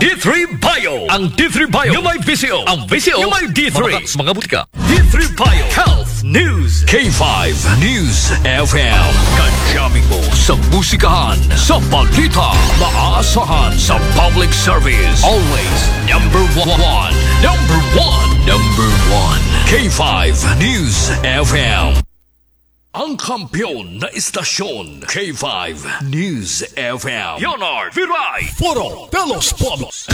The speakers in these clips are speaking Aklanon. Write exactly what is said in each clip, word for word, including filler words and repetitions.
D three Bio. Ang D three Bio. Yung may visyo. Ang visyo. Yung may D three. Mga, mga butika. D three Bio. Health News. K five News F M. Kajaming mo sa musikahan, sa balita, maasahan sa public service. Always number one. Number one. Number one. K five News F M. Ang kampiyon na istasyon, K five News F M. Leonard Viray. Foro de los Pueblos.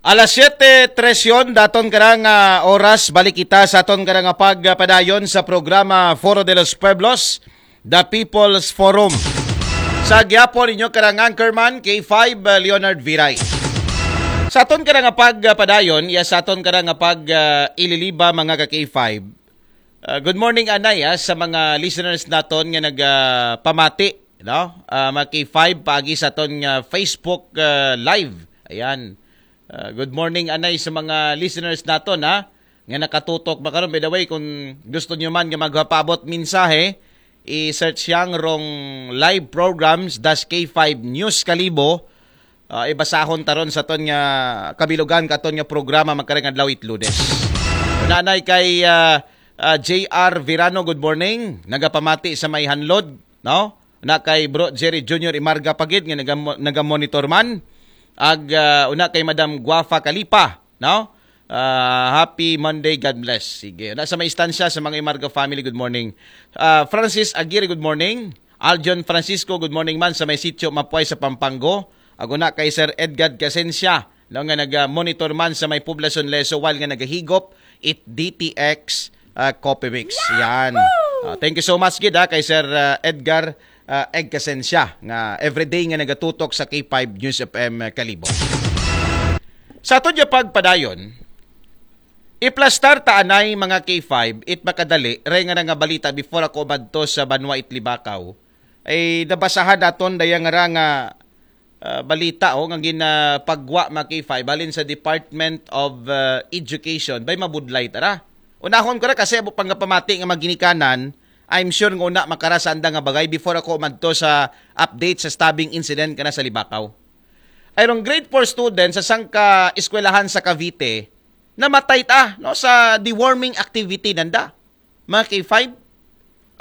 Alas siyete trese yon, daton karang ah, oras, balik kita sa aton karang pagpadayon sa programa Foro de los Pueblos, The People's Forum. Sa gyapon ninyo karang anchorman, K five, ah, Leonard Viray. Sa aton karang pagpadayon, ya sa aton karang pag ah, ililiba, mga ka K five. Ah, good morning, anay, ah, sa mga listeners naton nga nagpamati, no? Ah, mga K five, paagi sa aton nga Facebook ah, Live. Ayan. Ah, good morning, anay, sa mga listeners naton, ha? Nga nakatutok ba karon. By the way, kung gusto nyo man nga magpaabot mensahe, i-search yang rong live programs dash K five News Kalibo. Ah, ibasahon taron sa aton nga kabilugan katon nga programa magkarang adlaw it Lunes. Nanay kay ah, ah, J R Virano, good morning. Nagapamati sa may Hanlod, no? Na kay Bro Jerry Junior Imarga Pagid nga naga- nagamonitor man. Ag ah, una kay Madam Guafa Kalipa, no? Ah, happy Monday, God bless. Sige. Na sa may istansya sa mga Imarga family, good morning. Ah, Francis Aguirre, good morning. Aljon Francisco, good morning man sa may sitio Mapuay sa Pampango. Ag una kay Sir Edgar Casencia, no, nga naga-monitor man sa may Poblacion Leso while nga nagahigop it D T X ah, Coffee Mix. Yan. Ah, thank you so much gid ha, kay Sir ah, Edgar ah, Egg Casencia nga everyday nga nagatutok sa K five News F M Kalibo. Sa aton nga pagpadayon, iplastar ta anay, mga K five, it makadali, ray nga nga balita before ako madto sa banwa it Libakaw. Ay nabasahan naton daya nga ra nga ah, balita, oh, nga ginapagwa, mga K five, halin sa Department of ah, Education. Bay, mabudlay tara. Unahon ko ra kasi abo pang pamati nga maginikanan, I'm sure nga una makara sa anda nga bagay before ako madto sa update sa stabbing incident kana sa Libakaw. Ay rong grade four student sa sangka eskwelahan sa Cavite, namatay ta, no, sa deworming activity nanda. Mga K five,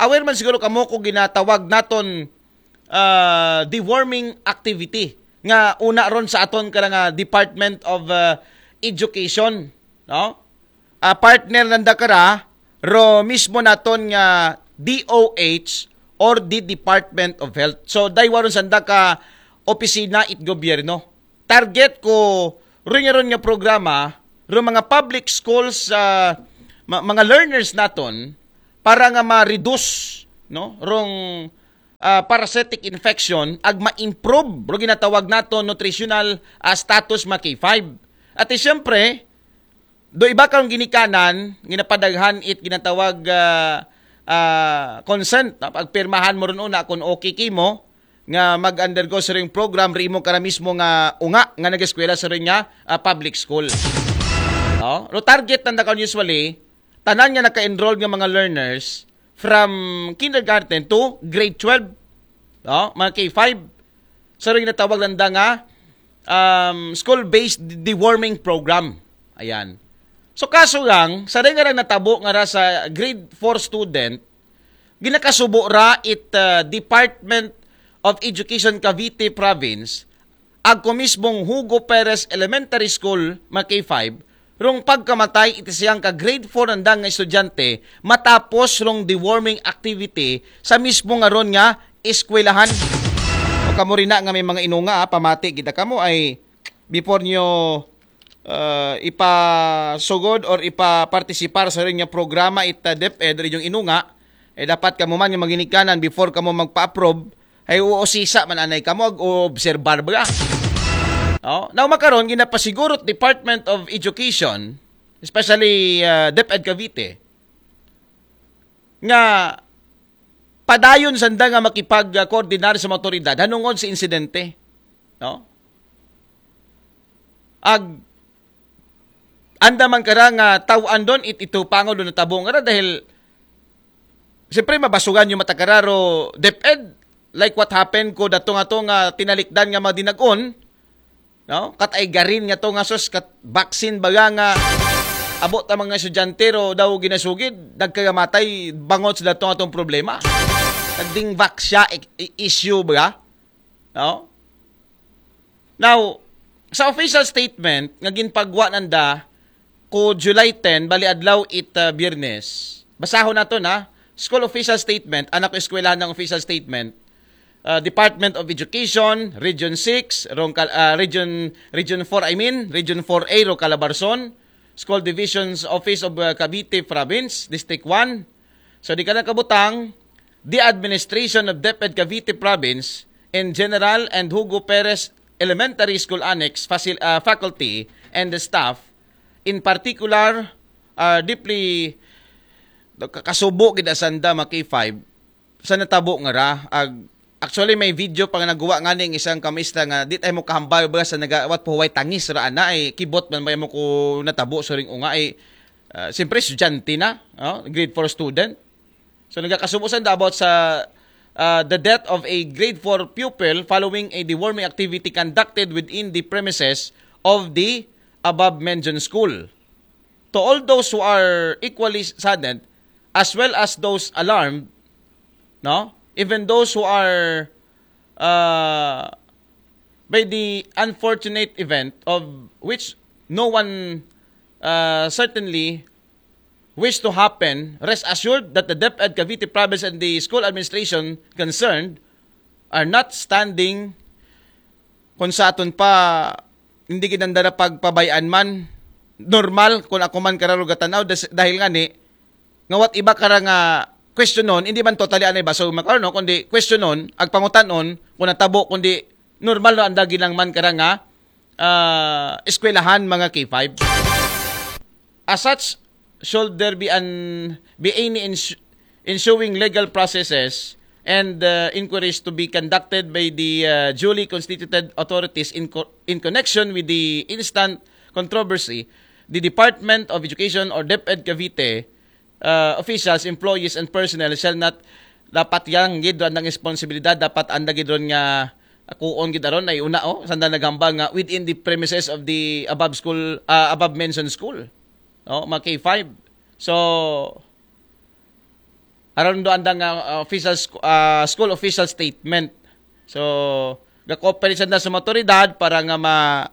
aware man siguro kamo ko ginatawag naton ah, deworming activity nga una ron sa aton karang ah, Department of ah, Education, no? Ah, partner nanda kara ro mismo naton nga D O H or the Department of Health. So daywa ron sanda ka opisina it gobyerno. Target ko ron nga ron nga programa ro mga public schools, ah, ma- mga learners naton para nga ma-reduce, no, rong ah, parasitic infection ag ma-improve ro ginatawag naton nutritional ah, status, mga K five. At eh, siyempre, do iba kang ginikanan, ginapadaghan it ginatawag ah, ah, consent, no? Pagpirmahan mo ron una kung okay kimo nga mag-undergo sa ring program, ri mo kara mismo nga unga nga nag-eskwela sa ring nga ah, public school. No? Ro target nanda karon usually tanan nga naka-enroll nga mga learners from kindergarten to grade twelve, no? Mga K five. Sa ring natawag nanda nga um, school-based deworming program. Ayan. So kaso lang, sa ring nga natabo nga ra sa grade four student, ginakasubo ra it uh, Department of Education Cavite Province ag ko mismong Hugo Perez Elementary School, mga K five, rong pagkamatay iti siyang ka grade four nanda nga estudyante matapos rong deworming activity sa mismo nga ron nga eskwelahan. O kamo rin na nga may mga inunga, ah, pamati kita kamo ay before nyo uh, ipasugod or ipapartisipar sa rin nga programa ita DepEd rin yung inunga, eh dapat kamo man nga maginikanan before kamo magpa-approve, ay uusisa man anay kamo ag obserbar ba. Oh, now makaron ginapasiguro Department of Education, especially uh, DepEd Cavite, nga padayon sanda nga makipag-coordinar sa mga otoridad hanungod sa insidente, no? Ag anda man kara nga taw-an don it ito pangod natabo nga ra dahil siyempre mabasugan yung matakararo DepEd, like what happened ko datong ato nga tinalikdan nga mga dinag-on No? Kat ay garin nga to nga sus, kat vaccine baga nga abot ang mga estudyante ro daw ginasugid, nagkagamatay, bangot sila to atong problema. Nagding vax siya, i- i- issue ba? No? Now, sa official statement nga ginpagwa nanda ko July ten, bali adlaw it, uh, Biyernes. Basahon nato na, school official statement, anak ko eskwelahan ng official statement, uh, Department of Education, Region six, Rongkal, uh, Region, Region four, I mean, Region four A, Rocalabarzon, School Division's Office of, uh, Cavite Province, District one. So, di ka nakabutang, the administration of DepEd Cavite Province in general and Hugo Perez Elementary School Annex facil- uh, faculty and the staff in particular are deeply kakasubo gid asanda mga K five sa natabo nga ra. Ag, actually, may video pa nga naguwa nga ning isang kamistra nga di tayo mo kahambal ba sa nagawat po huway tangis ra ana ay kibot man ba mo ko natabo suring unga ay, ah, siyempre estudyante na, oh, grade four student. So nagakasubo sanda about sa, uh, the death of a grade four pupil following a deworming activity conducted within the premises of the above mentioned school. To all those who are equally saddened, as well as those alarmed, no? Even those who are, uh, by the unfortunate event of which no one, uh, certainly wish to happen, rest assured that the DepEd Cavite Province and the school administration concerned are not standing kung sa aton pa hindi ginandara pagpabayaan man normal kung ako man kararo gatanaw das- dahil nga ni nga what iba kara nga questionon hindi man totally anay baso makaron no kundi questionon ag pangutanon kung natabo kundi normal no anda ginang man kara nga ah, eskwelahan mga K five. As such, should there be an be any ins- ensuing legal processes and, uh, inquiries to be conducted by the, uh, duly constituted authorities in co- in connection with the instant controversy, the Department of Education or DepEd Cavite, uh, officials, employees, and personnel shall not dapat yang gid ron ang responsibilidad dapat anda gid ron nga kuon gid aron ay una oh sanda naghambal nga within the premises of the above school, uh, above mentioned school, no, mga K five. So aron do anda nga, uh, official sc- uh, school official statement. So ga-cooperate sanda sa mga otoridad para nga ma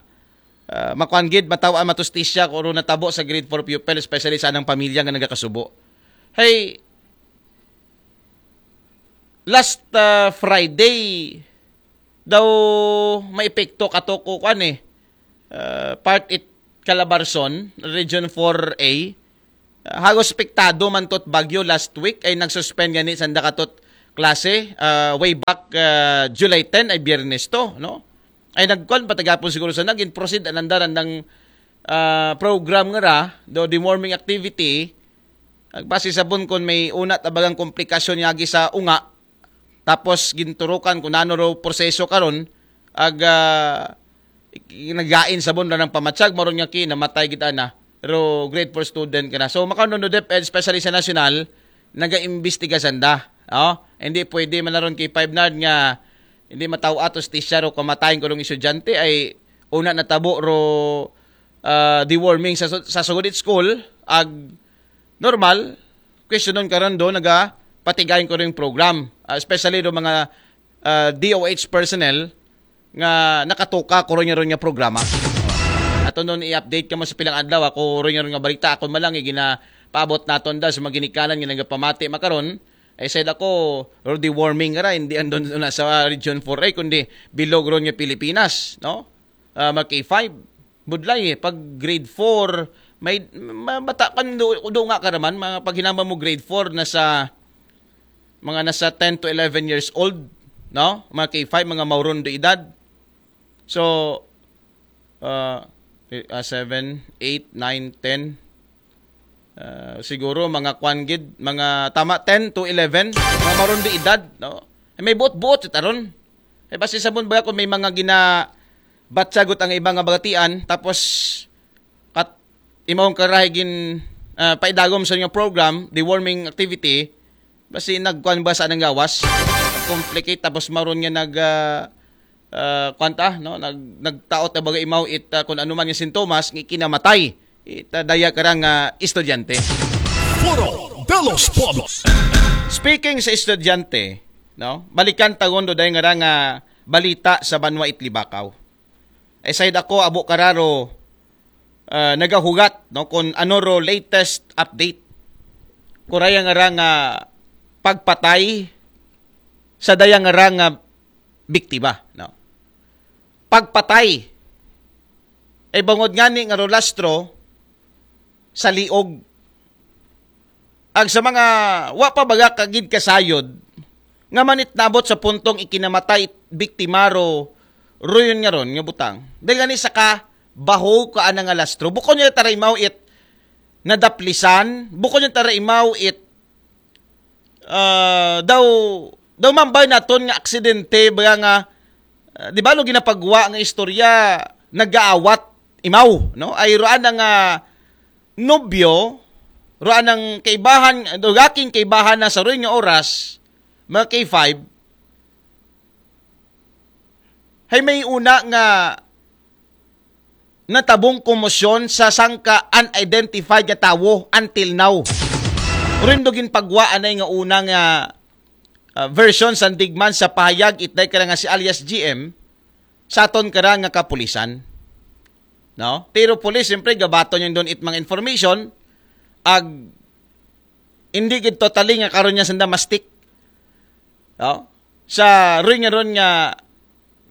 uh, makuan gid mataw-an matustisya kung ano natabo sa grade four pupil, especially sa anang pamilya nga nagakasubo. Hey, last, uh, Friday daw may epekto kato ko kuan eh. Uh, part it Calabarzon, Region four A. Uh, hagos epektado man tot bagyo last week ay nagsuspend gani sanda katot klase, uh, way back, uh, July ten ay Biyernes to, no? Ay nagkuan patagapon siguro sa naging proceed ananda randang, ah, program nga ra do deworming activity. Ag base sabon kon may una tabagang komplikasyon yagi sa unga tapos ginturukan kun ano ro proseso karon ag, ah, nagain sabon ra ng pamatsag maron nga ki namatay gid ana ro grade four student kana so makanon no DepEd especially sa nasyonal nagaimbestiga sanda, oh, hindi pwede man aron kay five nard nga hindi mataw-a to hustisya ro kamatayon ko rong estudyante ay una natabo ro, ah, deworming sa su- sa sugod it school ag normal questionon karon do naga patigayon ko ring program, ah, especially do mga, ah, D O H personnel nga nakatuka ko ron ron nga programa. Ato nun i-update ka mo sa pilang adlaw ako ron ron nga balita ako malang ginapaabot naton da sa mga ginikanan nga nagapamati makaron ay said ako or deworming nga ra hindi andon na sa region four ay kundi bilog ron nga Pilipinas, no? Ah, mag K five. Budlay eh, pag grade four may ma- bata kan do, do nga ka naman mga paghinamba mo grade four na sa mga nasa ten to eleven years old, no? Mga K five, mga mauron de edad. So, uh, uh, seven, eight, nine, ten, uh, siguro mga kwan gid, mga tama ten to eleven, mga mauron de edad, no? Eh, may buot-buot sa taron. Eh, basi sabon ba kung may mga gina batsagot ang iba nga bagatian, tapos kat imong karahay gin ah, paidagom sa inyong program, deworming activity, basi nagkuan ba sa anang gawas? Complicate tapos maron nga nag ah, ah, kuwan ta, no? Nag, nagtaot na baga imaw it, ah, kung ano man nga sintomas, nga ikinamatay it, ah, daya karang, ah, estudyante. Foro de los Pueblos. Speaking sa estudyante, no? Balikan ta gun do daya nga rang, ah, balita sa banwa it Libacao. Ay, sayd ako, abo kararo, ah, nagahugat, no, kung ano ro latest update. Kuraya nga rang, ah, pagpatay sa daya nga rang, ah, biktima, no? Pagpatay. Ay, bangod ngani nga rolastro sa liog. Ag sa mga wa pa baga kagid kasayod, nga manit nabot sa puntong ikinamatay it biktima ro, ruyon nga ron nga butang. Dahil gani sa ka, baho ka ana nga lastro. Bukon niya tara imaw it nadaplisan, bukon niya tara imaw it, ah, daw, daw mambay naton nga aksidente, baga nga, ah, di ba, lo ginapagwa nga istorya, nagaawat imaw, no? Ay, roan ang, ah, nobyo, roan ang kaibahan, dugaking kaibahan na sa ruy nga oras, mga K five, hay may una nga natabong komosyon sa sangka unidentified nga tawo until now. Rin do ginpagwa anay nga una nga, ah, version sa digman sa pahayag itday ka nga si alias G M sa aton kara nga kapulisan. No? Pero pulis, siyempre, gabaton yung doon it mga information, ag hindi gid totally nga karon niya sanda mastik. No? Sa rin nga ron nga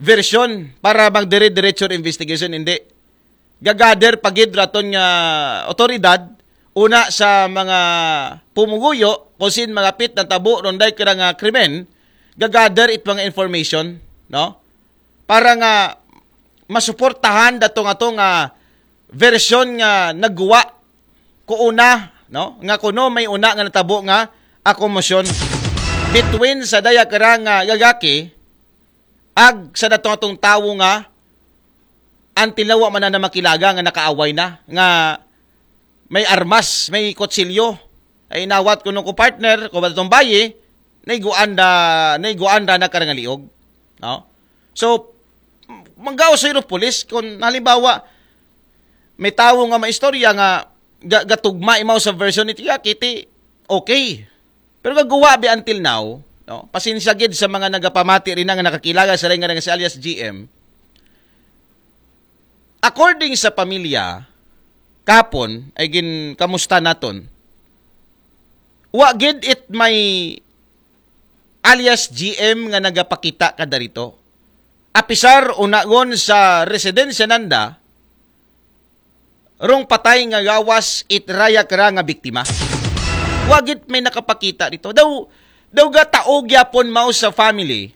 version para magdire-diretso investigation, hindi. Gagader pagid raton nga otoridad, una sa mga pumuguyo, kung sin mga pit na tabo, ronday kira nga krimen, gagader it mga information, no? Para nga masuportahan dato nga to nga version nga nagguwa ko una, no? Nga kuno may una nga natabo nga akomosyon between sa daya kara nga gagaki ag sa dato atong tawo nga antilawa man na makilaga nga nakaaway na, nga may armas, may kutsilyo. Ay inawat ko nung ko partner, ko ba itong bayi, naiguan da, naiguan da na karangaliog. No? So, manggaw sa iro pulis, kung halimbawa, may tawo nga maistorya nga ga- gatugma imaw sa version ni Tia Kitty, okay. Pero gagawa bi until now, no? Pasensya gid sa mga nagapamati rin nga nakakilaga sa rin nga si alias G M. According sa pamilya, kapon, ay gin kamusta naton. Wa gid it may alias G M nga nagapakita kada rito. Apisar unagon sa residensya nanda, rong patay nga gawas it rayak ra nga biktima. Wa gid may nakapakita dito. Daw, daw gataog yapon mao sa family